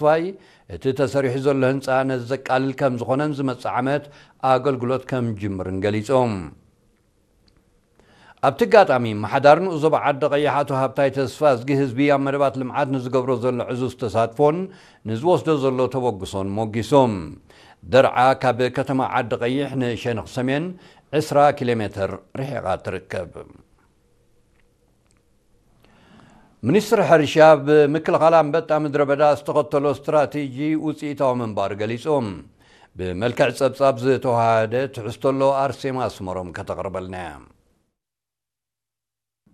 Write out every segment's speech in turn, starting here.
ተስፋይ፣ እቲ ተሰሪሑ ዘሎ ህንፃ ነዚ ዘቃልል ከም ዝኾነን ዝመፅእ ዓመት ኣገልግሎት ከም ጅምርን ገሊፆም። ኣብቲ ኣጋጣሚ፣ ኣመሓዳር ንኡስ ዞባ ዓዲ ቀይሕ ኣቶ ሃብታይ ተስፋዝጊ፣ ህዝቢ ኣብ መደባት ልምዓት ንዝገብሮ ዘሎ ዕዙዝ ተሳትፎን ንዝወስዶ ዘሎ ተበግሶን ሞጊሶም። ደርዓ ካብ ከተማ ዓዲ ቀይሕ ንሸነኽ ሰሜን ዕስራ ኪሎ ሜትር ርሒቓ ትርከብ። ሚኒስትሪ ሕርሻ፣ ብምክልኻል ኣንበጣ ምድረ በዳ ዝተኸተሎ ስትራቴጂ ውፅኢታዊ ምንባር ገሊፁ። ብመልክዕ ጸብጻብ ዝተዋሃደ ትሕዝቶ ኣሎ፣ ኣርሴማ ኣስመሮም ከተቕርበልና እያ።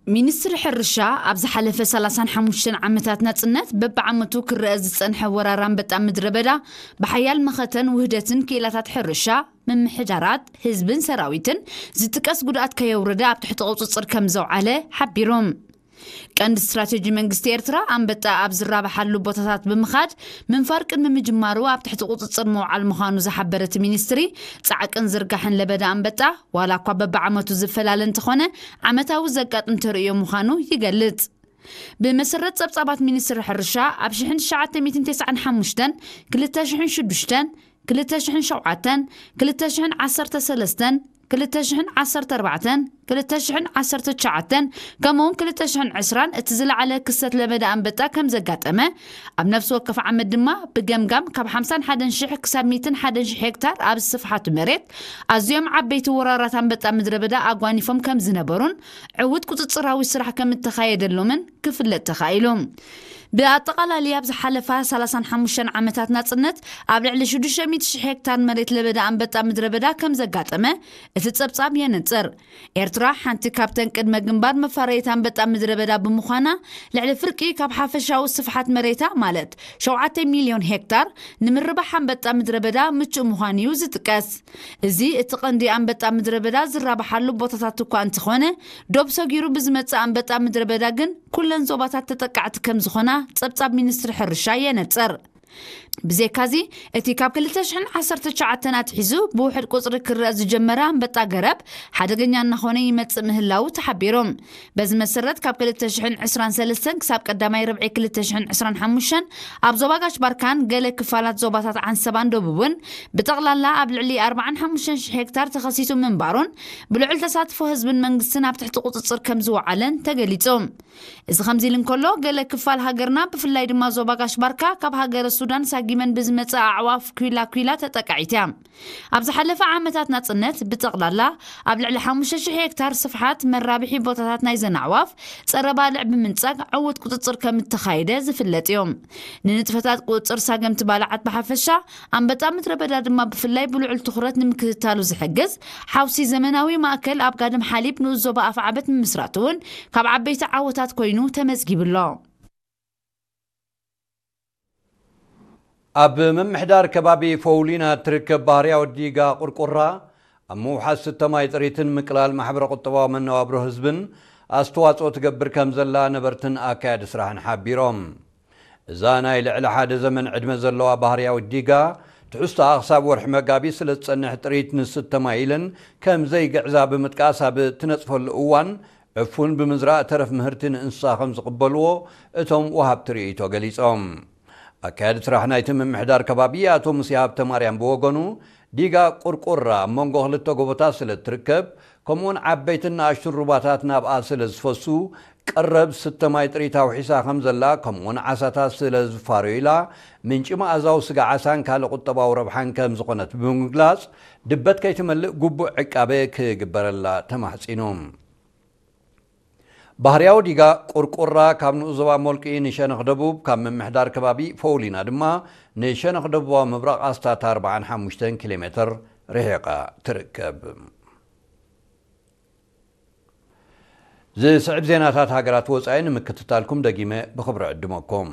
ሚኒስትሪ ሕርሻ፣ ኣብ ዝሓለፈ ሰላሳን ሓሙሽተን ዓመታት ናጽነት፣ በብዓመቱ ክረአ ዝጸንሐ ወራር ኣንበጣ ምድረ በዳ፣ ብሓያል መኸተን ውህደትን ክኢላታት ሕርሻ፣ ምምሕዳራት፣ ህዝብን ሰራዊትን ዝጥቀስ ጉድኣት ከየውረደ ኣብ ትሕቲ ቁጽጽር ከም ዘውዓለ ሓቢሩ። ቀንዲ ስትራቴጂ መንግስቲ ኤርትራ፣ ኣንበጣ ኣብ ዝራብሓሉ ቦታታት ብምኻድ ምንፋር ቅድሚ ምጅማሩ ኣብ ትሕቲ ቁጽጽር ምውዓል ምዃኑ ዝሓበረ እቲ ሚኒስትሪ፣ ጻዕቅን ዝርጋሕን ለበዳ ኣንበጣ፣ ዋላ እኳ በብዓመቱ ዝፈላለ እንተኾነ፣ ዓመታዊ ዘጋጥም ተርእዮ ምዃኑ ይገልጽ። ብመሰረት ጸብጻባት ሚኒስትሪ ሕርሻ፣ ኣብ ሽሕን ትሽዓተ ሚእትን ተስዓን ሓሙሽተን፣ ክልተ ሽሕን ሽዱሽተን፣ ክልተ ሽሕን ሸውዓተን፣ ክልተ ሽሕን ዓሰርተ ሰለስተን፣ ክልተ ሽሕን ዓሰርተ ኣርባዕተን፣ ክልተ ሽሕን ዓሰርተ ትሽዓተን፣ ከምኡውን ክልተ ሽሕን ዕስራን እቲ ዝለዓለ ክስተት ለበዳ ኣንበጣ ከም ዘጋጠመ፣ ኣብ ነፍሲ ወከፍ ዓመት ድማ ብገምጋም ካብ ሓምሳን ሓደን ሽሕ ክሳብ ሚእትን ሓደን ሽሕ ሄክታር ኣብ ስፍሓት መሬት ኣዝዮም ዓበይቲ ወራራት ኣንበጣ ምድረ በዳ ኣጓኒፎም ከም ዝነበሩን ዕዉት ቁጽጽራዊ ስራሕ ከም እተኻየደሎምን ክፍለጥ ተኻኢሉ። ብኣጠቓላሊ ኣብ ዝሓለፋ ሰላሳን ሓሙሽተን ዓመታት ናጽነት ኣብ ልዕሊ ሽዱሽተ ሚእቲ ሽሕ ሄክታር መሬት ለበዳ ኣንበጣ ምድረ በዳ ከም ዘጋጠመ እቲ ጸብጻብ የነጽር። ኤርትራ ሓንቲ ካብተን ቅድመ ግንባር መፋረይት ኣንበጣ ምድረ በዳ ብምዃና፣ ልዕሊ ፍርቂ ካብ ሓፈሻዊ ስፍሓት መሬታ፣ ማለት ሸውዓተ ሚልዮን ሄክታር፣ ንምርባሕ ኣንበጣ ምድረ በዳ ምቹእ ምዃኑ እዩ ዝጥቀስ። እዚ እቲ ቀንዲ ኣንበጣ ምድረ በዳ ዝራብሓሉ ቦታታት እኳ እንተኾነ፣ ዶብ ሰጊሩ ብዝመጽእ ኣንበጣ ምድረ በዳ ግን ኩለን ዞባታት ተጠቃዕቲ ከም ዝኾና ጸብጻብ ሚኒስትሪ ሕርሻ የነጽር። ብዘይካዚ፣ እቲ ካብ ክልተ ሽሕን ዓሰርተ ትሽዓተን ኣትሒዙ ብውሕድ ቁጽሪ ክረአ ዝጀመረ ኣንበጣ ገረብ ሓደገኛ እናኾነ ይመጽእ ምህላዉ ተሓቢሩ። በዚ መሰረት፣ ካብ ክልተ ሽሕን ዕስራን ሰለስተን ክሳብ ቀዳማይ ርብዒ ክልተ ሽሕን ዕስራን ሓሙሽተን ኣብ ዞባ ጋሽ ባርካን ገለ ክፋላት ዞባታት ዓንሰባን ደቡብን ብጠቕላላ ኣብ ልዕሊ ኣርባዓን ሓሙሽተን ሽሕ ሄክታር ተኸሲቱ ምንባሩን ብልዑል ተሳትፎ ህዝብን መንግስትን ኣብ ትሕቲ ቁጽጽር ከም ዝወዓለን ተገሊጹ። እዚ ከምዚ ኢሉ እንከሎ፣ ገለ ክፋል ሃገርና፣ ብፍላይ ድማ ዞባ ጋሽ ባርካ፣ ካብ ሃገረ ሱዳን ሳጊመን ብዝመጽእ ኣዕዋፍ ኲላ ኲላ ተጠቃዒት እያ። ኣብ ዝሓለፈ ዓመታት ናጽነት፣ ብጠቕላላ ኣብ ልዕሊ ሓሙሽተ ሽሕ ሄክታር ስፍሓት መራብሒ ቦታታት ናይዘን ኣዕዋፍ ጸረ ባልዕ ብምንጻግ ዕዉት ቁጽጽር ከም እተኻየደ ዝፍለጥ እዩ። ንንጥፈታት ቁጽጽር ሳገምቲ ባልዓት ብሓፈሻ፣ ኣንበጣ ምድረ በዳ ድማ ብፍላይ ብልዑል ትኹረት ንምክትታሉ ዝሕግዝ ሓውሲ ዘመናዊ ማእከል ኣብ ጋድም ሓሊብ ንኡስ ዞባ ኣፍዓበት ምምስራቱ እውን ካብ ዓበይቲ ዓወታት ኮይኑ ተመዝጊቡ ኣሎ። ኣብ ምምሕዳር ከባቢ ፈውሊና እትርከብ ባህርያዊ ዲጋ ቁርቁራ፣ ኣብ ምውሓስ ስተ ማይ ጥሪትን ምቅላል ማሕበረ ቁጠባዊ መነባብሮ ህዝብን ኣስተዋጽኦ ትገብር ከም ዘላ ነበርትን ኣካያዲ ስራሕን ሓቢሮም። እዛ ናይ ልዕሊ ሓደ ዘመን ዕድመ ዘለዋ ባህርያዊት ዲጋ፣ ትሕዝቶኣ ክሳብ ወርሒ መጋቢት ስለ ዝጸንሕ፣ ጥሪት ንስተ ማይ ኢለን ከም ዘይግዕዛ ብምጥቃስ፣ ኣብ ትነጽፈሉ እዋን ዕፉን ብምዝራእ ተረፍ ምህርቲ ንእንስሳ ከም ዝቕበልዎ እቶም ወሃብቲ ርእይቶ ገሊጾም። ኣካያዲ ስራሕ ናይቲ ምምሕዳር ከባቢ ኣቶ ሙሴ ሃብተማርያም ብወገኑ፣ ዲጋ ቁርቁራ ኣብ መንጎ ክልተ ጎቦታት ስለ እትርከብ፣ ከምኡውን ዓበይትን ንኣሽቱን ሩባታት ናብኣ ስለ ዝፈሱ፣ ቀረብ ስተ ማይ ጥሪት ኣውሒሳ ከም ዘላ፣ ከምኡውን ዓሳታት ስለ ዝፋረዩላ፣ ምንጪ መኣዛዊ ስጋ ዓሳን ካልእ ቁጠባዊ ረብሓን ከም ዝኾነት ብምግላጽ፣ ድበት ከይትመልእ ግቡእ ዕቃበ ክግበረላ ተማሕጺኑ። ባህርያዊ ዲጋ ቁርቁራ ካብ ንኡስ ዞባ ሞልቂ ንሸነኽ ደቡብ፣ ካብ ምምሕዳር ከባቢ ፈውሊና ድማ ንሸነኽ ደቡባዊ ምብራቕ ኣስታት ኣርባዓን ሓሙሽተን ኪሎ ሜትር ርሒቓ ትርከብ። ዝስዕብ ዜናታት ሃገራት ወጻኢ ንምክትታልኩም ደጊመ ብኽብሪ ዕድመኩም።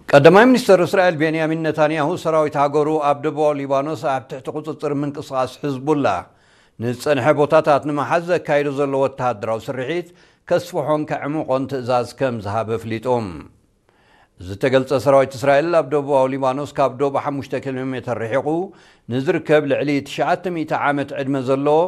ቀዳማይ ሚኒስተር እስራኤል ቤንያሚን ነታንያሁ፣ ሰራዊት ሃገሩ ኣብ ደቡባዊ ሊባኖስ ኣብ ትሕቲ ቁጽጽር ምንቅስቓስ ሕዝቡላ ንዝጸንሐ ቦታታት ንምሓዝ ዘካይዶ ዘሎ ወተሃደራዊ ስርሒት ከስፍሖን ከዕምቖን ትእዛዝ ከም ዝሃበ ኣፍሊጡ። ዝተገልጸ፣ ሰራዊት እስራኤል ኣብ ደቡባዊ ሊባኖስ ካብ ዶብ ሓሙሽተ ኪሎ ሜተር ርሒቑ ንዝርከብ ልዕሊ ትሽዓተ ሚእቲ ዓመት ዕድመ ዘለዎ